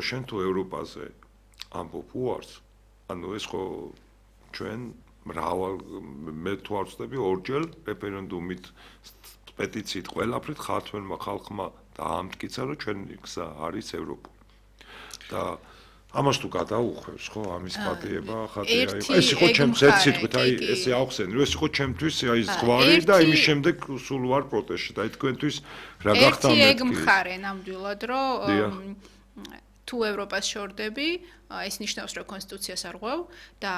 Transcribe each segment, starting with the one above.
შენ თუ ევროპაზე ამბობ უარს, ანუ ეს ხო ჩვენ მრავალ მე თუ არ ვწდები ორჯერ რეფერენდუმით პეტიციით ყველაფრით ხალხმა დაამტკიცა რომ ჩვენი გზა არის ევროპული. და ამას თუ გადაუხვევს ხო ამის პატიება ხატია იყო ეს იყო ჩემს ერთ სიტყვით აი ესე ავხსენე რომ ეს იყო ჩემთვის აი ზღვარი და იმის შემდეგ სულ ვარ პროტესტში და თქვენთვის რა გახდა მეთქი ეგ მხარე ნამდვილად რომ თუ ევროპას შორდები ეს ნიშნავს რომ კონსტიტუციას არ ღვევ და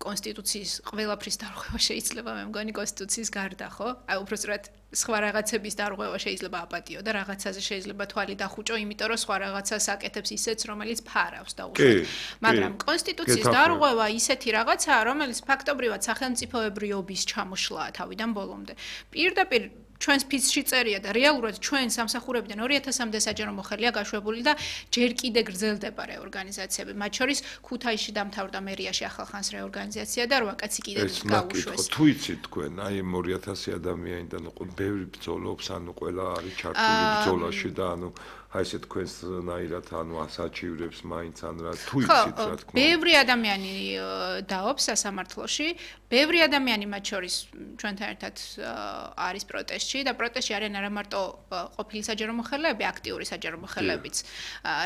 კონსტიტუციის ყველაფრის დარღვევა შეიძლება მე მგონი კონსტიტუციის გარდა ხო აი უბრალოდ სხვა რაღაცების დარღვევა შეიძლება აპატიო და რაღაცაზე შეიძლება თვალი დახუჭო იმიტომ რომ სხვა რაღაცას აკეთებს ისეც რომელიც ფარავს და უშუალოდ მაგრამ კონსტიტუციის დარღვევა ისეთი რაღაცაა რომელიც ფაქტობრივად სახელმწიფოებრიობის ჩამოშლაა თავიდან ბოლომდე პირდაპირ ჩვენს ფიცში წერია და რეალურად ჩვენ სამსახურებიდან 2000-მდე საჯარო მოხელეა გაშვებული და ჯერ კიდე გრძელდება რეორგანიზაციები. მათ შორის ქუთაისში დამთავრდა მერიაში ახალხანს რეორგანიზაცია და 8 კაცი კიდევ გაუშვეს. თუ იცით თქვენ, აი 2000 ადამიანიდან ბევრი ბრძოლობს, ანუ ყველა არის ჩართული ბრძოლაში და ანუ აი ესე თქვენსნაირად ანუ ასაჩივრებს მაინც ან რა თუ იცით რა თქმა უნდა. ბევრი ადამიანი დაობს სასამართლოში, ბევრი ადამიანი მათ შორის ჩვენთან ერთად არის პროტესტში და პროტესტში არიან არა მარტო ყოფილი საჯარო მოხელეები, აქტიური საჯარო მოხელეებიც,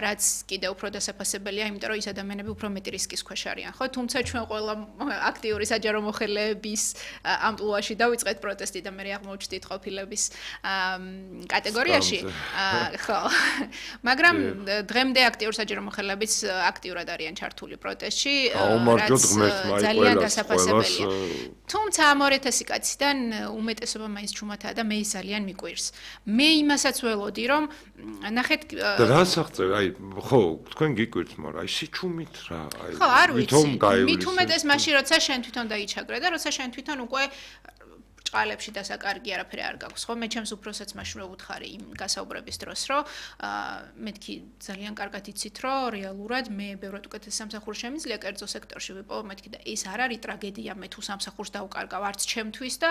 რაც კიდევ უფრო დასაფასებელია, იმიტომ რომ ის ადამიანები უფრო მეტი რისკის ქვეშ არიან, ხო? თუმცა ჩვენ ყველა აქტიური საჯარო მოხელეების ამპლუაში დავიწყეთ პროტესტი და მე აღმოჩნდით ყოფილების კატეგორიაში. ხო. მაგრამ დღემდე აქტიურ საჯარო მოხელეებიც აქტიურად არიან ჩართული პროტესტში, რაც ძალიან დასაფასებელია. თუმცა ამ 2000 კაციდან უმეტესობა მაინც ჩუმათაა და მე ის ძალიან მიკვირს. მე იმასაც ველოდი რომ ნახეთ და რას აღწევ აი ხო თქვენ გიკვირთ მაგრამ აი სიჩუმით რა აი ხო არ ვიცი მით უმეტეს მაშინ როცა შენ თვითონ დაიჩაგრე და როცა შენ თვითონ უკვე ჭყალებში დასაკარგი არაფერი არ გაქვს ხო მე ჩემს უფროსაც მაშინ ვუთხარი იმ გასაუბრების დროს რომ მეთქი ძალიან კარგად იცით რომ რეალურად მე ბევრად უკეთეს სამსახურს შემიძლია კერძო სექტორში ვიპოვო მეთქი და ეს არ არის ტრაგედია მე თუ სამსახურს დავკარგავ არც ჩემთვის და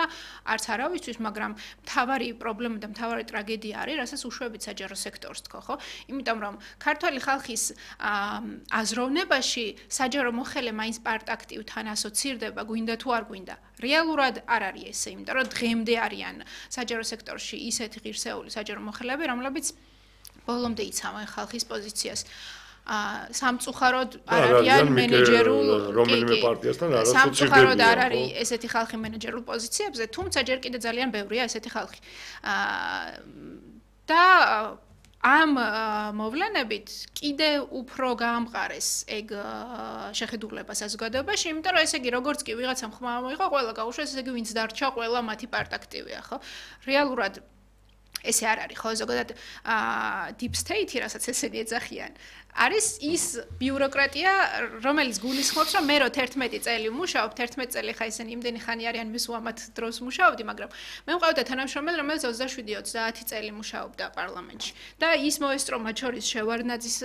არც არავისთვის მაგრამ მთავარი პრობლემა და მთავარი ტრაგედია არის რასაც უშვებით საჯარო სექტორს თქო ხო იმიტომ რომ ქართული ხალხის აზროვნებაში საჯარო მოხელე მაინც პარტაქტივთან ასოცირდება გვინდა თუ არ გვინდა რეალურად არ არის ესე იმიტომ რომ დღემდე არიან საჯარო სექტორში ისეთი ღირსეული საჯარო მოხელეები რომლებიც ბოლომდე იცავენ ხალხის პოზიციას სამწუხაროდ არ არიან მენეჯერულ რომელიმე პარტიასთან არ ასოცირდებიან სამწუხაროდ არ არის ესეთი ხალხი მენეჯერულ პოზიციებზე თუმცა ჯერ კიდე ძალიან ბევრია ესეთი ხალხი და ამ მოვლენებით კიდე უფრო გაამყარეს ეგ შეხედულება საზოგადოებაში, იმიტომ რომ ესე იგი როგორც კი ვიღაცამ ხმა მოიღო, ყველა გაუშვეს, ესე იგი ვინც დარჩა, ყველა მათი პარტაქტივია, ხო? რეალურად ესე არ არის, ხო? ზოგადად deep state-ი, რასაც ესენი ეძახიან, არის ის ბიუროკრატია, რომელიც გულისხმობს, რომ მე რო 11 წელი ვმუშაობ, 11 წელი ხა ისინი იმდენი ხანი არიან, მე სულ დროს მუშაობდი, მაგრამ მე მყავდა თანამშრომელი, რომელიც 27-30 წელი მუშაობდა პარლამენტში. და ის მოესწრო მათ შორის შევარდნაძის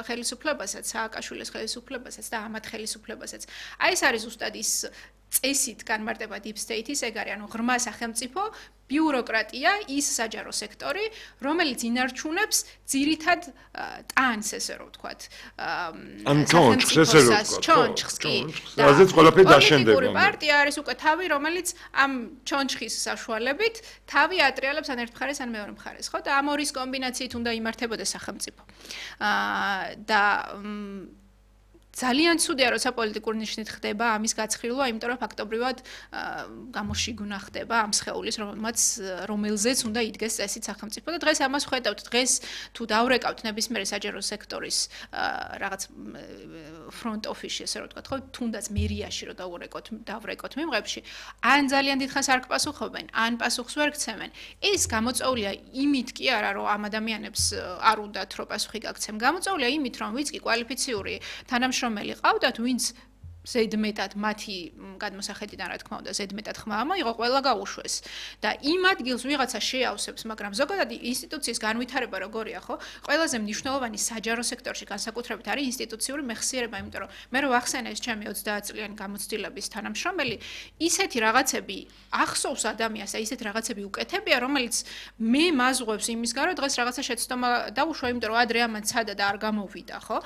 ხელისუფლებასაც, სააკაშვილის ხელისუფლებასაც და ამათ ხელისუფლებასაც. აი ეს არის ზუსტად ის წესით განმარტება deep state-ის, ეგ არის, ანუ ღრმა სახელმწიფო ბიუროკრატია ის საჯარო სექტორი, რომელიც ინარჩუნებს ძირითად ტანს, ესე რომ ვთქვათ. ან ჩონჩხს, ესე რომ ვთქვათ. ჩონჩხს კი. რაზეც ყველაფერი დაშენდება. პოლიტიკური პარტია არის უკვე თავი, რომელიც ამ ჩონჩხის საშუალებით თავი ატრიალებს ან ერთ მხარეს, ან მეორე მხარეს, ხო? და ამ ორის კომბინაციით უნდა იმართებოდეს სახელმწიფო. და ძალიან ცუდია, როცა პოლიტიკური ნიშნით ხდება ამის გაცხილვა, იმიტომ რომ ფაქტობრივად გამოშიგუნა ხდება ამ სხეულის, რომელზეც უნდა იდგეს წესით სახელმწიფო და დღეს ამას ვხედავთ. დღეს თუ დავრეკავთ ნებისმიერი საჯარო სექტორის რაღაც front office-ში, ესე რომ ვთქვათ, ხო, თუნდაც მერიაში რომ დავრეკოთ მიმღებში, ან ძალიან დიდხანს არ გპასუხობენ, ან პასუხს ვერ გცემენ. ეს გამოწვეულია იმით კი არა, რომ ამ ადამიანებს არ უნდათ რომ პასუხი გაგცემ. გამოწვეულია იმით, რომ ვინც კი კვალიფიციური თანამშრომელი ყავდათ, ვინც ზედმეტად მათი გადმოსახედიდან რა თქმა უნდა ზედმეტად ხმა მოიღო ყველა გაუშვეს და იმ ადგილს ვიღაცა შეავსებს მაგრამ ზოგადად ინსტიტუციის განვითარება როგორია ხო ყველაზე მნიშვნელოვანი საჯარო სექტორში განსაკუთრებით არის ინსტიტუციური მეხსიერება იმიტომ რომ მე რო ვახსენე ეს ჩემი 30 წლიანი გამოცდილების თანამშრომელი ისეთი რაღაცები ახსოვს ადამიანს და ისეთი რაღაცები უკეთებია რომელიც მე მაზღვევს იმის გარო დღეს რაღაცა შეცდომა დაუშვა იმიტომ რომ ადრე ამან ცადა და არ გამოვიდა ხო